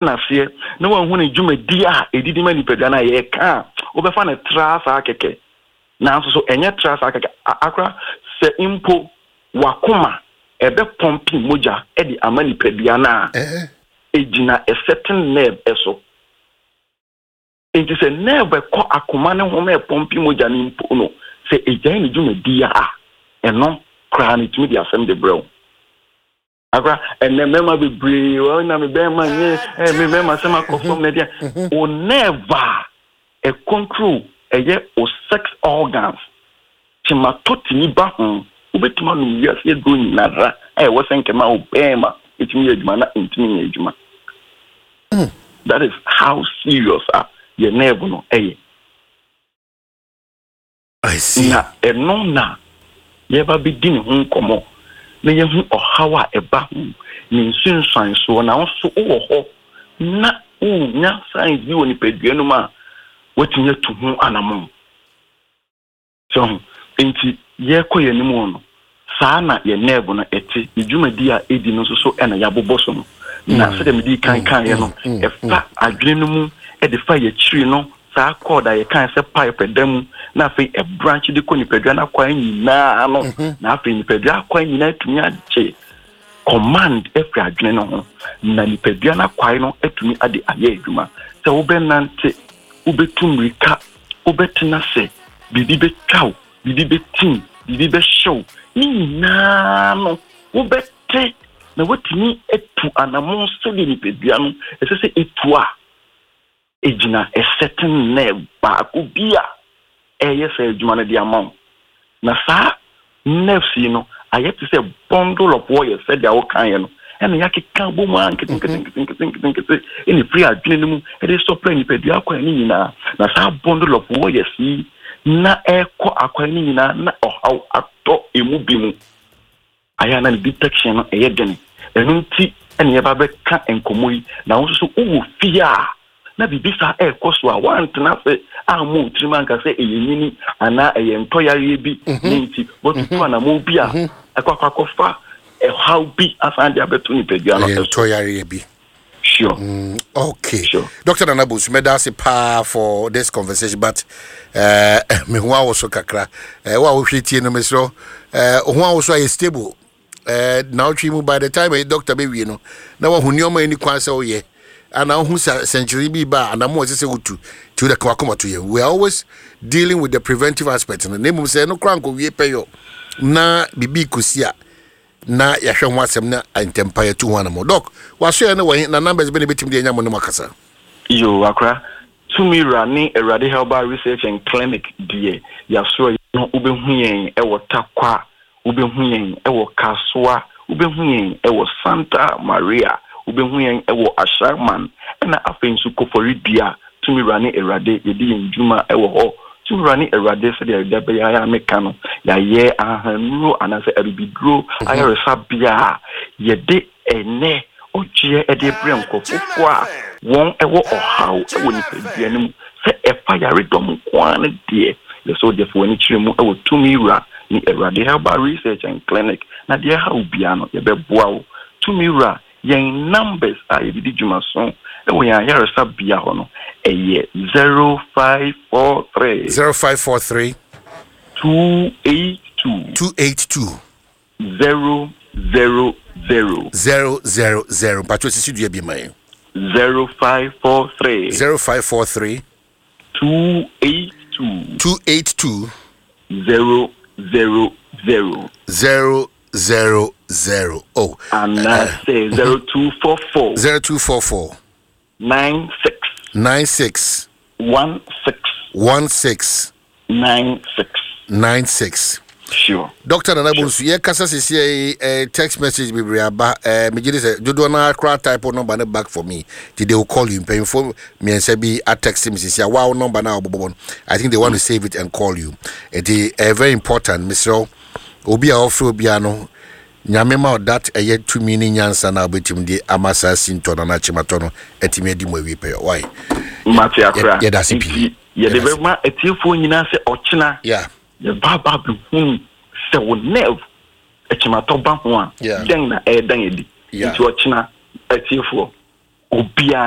N'aseɛ na wanhu ne dwumadi a ɛdidi ma nipadua no a yɛreka a, wobɛfa no traa saa kɛkɛ. Nanso so ɛnyɛ traa saa kɛkɛ. Akora sɛ mpo w'akoma ɛbɛpɔmpe mogya de ama nipadua no a, ɛgyina a certain nerve so. Enti sɛ nerve ɛkɔ akoma no ho ma ɛpɔmpe mogya no mpo no, sɛ ɛgyae ne dwumadi a, ɛno koraa no ɛtumi de asɛm de brɛ wo. Akora ɛnɛ mmarima bebree wɔn na me bɛrima nyɛ ɛ me mmarima sɛm akɔ fam na ɛdeɛ o nerve a ɛ control ɛyɛ o sex organs kyematɔ tumi ba ho wobɛtumi anom wiase aduro nyinara a ɛwɔ sɛ nkɛma o bɛrima ɛtumi yɛ adwuma na ɛntumi nyɛ adwuma. That is how serious a yɛ nerve no ɛyɛ. I see. Na ɛno na yɛreba abɛdi ne ho nkɔmmɔ na yɛahu ɔhaw a ɛba ho, ne nsunsuansoɔ. Na wo nso wowɔ hɔ na wonya signs bi wɔ nipadua no mu a, woatumi atu ho anammɔn. So ho? Enti yɛrekɔ yɛn anim no, Saa na yɛn nerve no te, ne dwumadi a edi no nso so na yɛabobɔ so no. Na sɛdeɛ medii kan kaeɛ no, ɛfa adwene no mu de fa yɛn akyiri no, saa cord a yɛkae sɛ pipe ɛda mu, na afei ɛbranch de kɔ nipadua no akwan nyinaa no, na afei nipadua akwan nyinaa atumi agye command afiri adwene no ho, na nipadua no akwae no atumi ade ayɛ adwuma. Sɛ wobɛnante, wobɛtu mmirika, wobɛtena ase, biribi bɛtwa wo, biribi bɛtim, biribi bɛhyew, ne nyinaa no, wobɛte na woatumi atu anammɔn sɛdeɛ nipadua no ɛsɛ sɛ ɛtu a, ɛgyina a certain nerve baako bi a ɛyɛ saa adwuma no de ama wo. Na saa nerves yi no ayɛ te sɛ bundle of wires sɛdeɛ wokaeɛ no, ɛna yɛakeka bɔ mu a nketenketenketenketenkete ɛna ɛfiri adwene no mu ɛde supply nipadua akwan no nyinaa. Na saa bundle of wires yi na ɛrekɔ akwan no nyinaa na ɔhaw atɔ emu bi mu. Ayɛ a na ne detection no ɛyɛ den. Ɛno nti ɛna yɛba bɛka nkɔmmɔ yi. Na wo nso so wowɔ fie a na biribi saa ɛrekɔ so a, woantena ase ammɔ wo tirim anka sɛ ɛyɛ nyini anaa ɛyɛ ntɔyareɛ bi ne nti woatutu anammɔn bi a ɛkɔ akɔ akɔfa ɛhaw bi asan de abɛto nipadua no Ɛyɛ so. ntɔyareɛ bi. Sure. Okay. Sure. Dr. Nana Bonsu, meda ase paa for this conversation, but me ho awoso kakra. Wo a wohwɛ tie no mesrɛ ho awoso ayɛ stable. Na wotwe mu by the time a doctor bɛwie no na wahu nneɛma ani kwan sɛ woyɛ ana wohu sɛ sɛnkyerɛnne bi ba a anamo a ɛsɛ sɛ wotu nti wode ka wakoma to yɛn. We are always dealing with the preventive aspect no, na mmom sɛ ɛno koraa nkɔwie pɛyɔ na biribi kɔsi a na yɛahwɛ ho asɛm na ntɛmpa yɛtu ho anamɔ. Dɔk, wasoɛ ne wɔn na numbers bɛ na ɛbɛtumi de anya mo ne mo akasa? Yo, akora, Tumi Wura ne Awurade Herbal Research and Clinic deɛ yɛasoɛ no, wobɛhu yɛn wɔ Tarkwa, wobɛhu yɛn wɔ Kasoa, wobɛhu yɛn wɔ Santa Maria, wobɛhu yɛn wɔ Ashaiman, ɛna afei nso Koforidua. Tumi Wura ne Awurade, yɛdi yɛn dwuma wɔ hɔ. Tumi Wura ne Awurade, sɛdeɛ da biara meka no, yɛayɛ ahahannuro anaasɛ abibiduro ayaresabea a yɛde ɛnnɛ ɔgyeɛ de rebrɛ nkurɔfoɔ a wɔn wɔ ɔhaw wɔ nipadua no mu sɛ ɛfa yaredɔm nko ara no deɛ, yɛ sɛ wode fa w'ani kyerɛ mu wɔ Tumi Wura ne Awurade Herbal Research and Clinic na deɛ ɛha wo biara no yɛbɛboa wo. Tumi Wura, yɛn numbers a yɛde di dwumaso wɔ yɛn ayaresabea hɔ no ɛyɛ 0543. 0543. 282. 282. 0 0 0. 0 0 0. Mpatwa sisi dua bi ma yɛn. 0543. 0543. 282. 282. 0 0 0. 0 0 0. Oh. Anaasɛ 0244. 0244. 96. 96. 16. 16. 96. 96. Sure. Dr. Nana Bonsu, yɛkasa sisi yi text message bebree aba. Megye di sɛ dodoɔ no akora type number no back for me nti they will call you. Mpanyinfoɔ mmiɛnsa bi a text me sisi a wow number no a wɔbobɔ no, I think they want to save it and call you. Nti very important, mesrɛ wo, obi a ɔfrɛ obiara no, Nyame ma wo that ɛyɛ tumi ne nyansa no a wobɛtumi de ama saa sintɔ no anaa kyematɔ no atumi adi mu awie pɛyɛ. Why? Mate akora. Yɛda ase pii. Nti yɛde bɛma atiefoɔ nyinaa sɛ ɔkyena yɛba aba abɛhunu sɛ wo nerve akyimatɔ ba ho a, dɛn na ɛredan adi. Nti ɔkyena atiefoɔ. Obiara.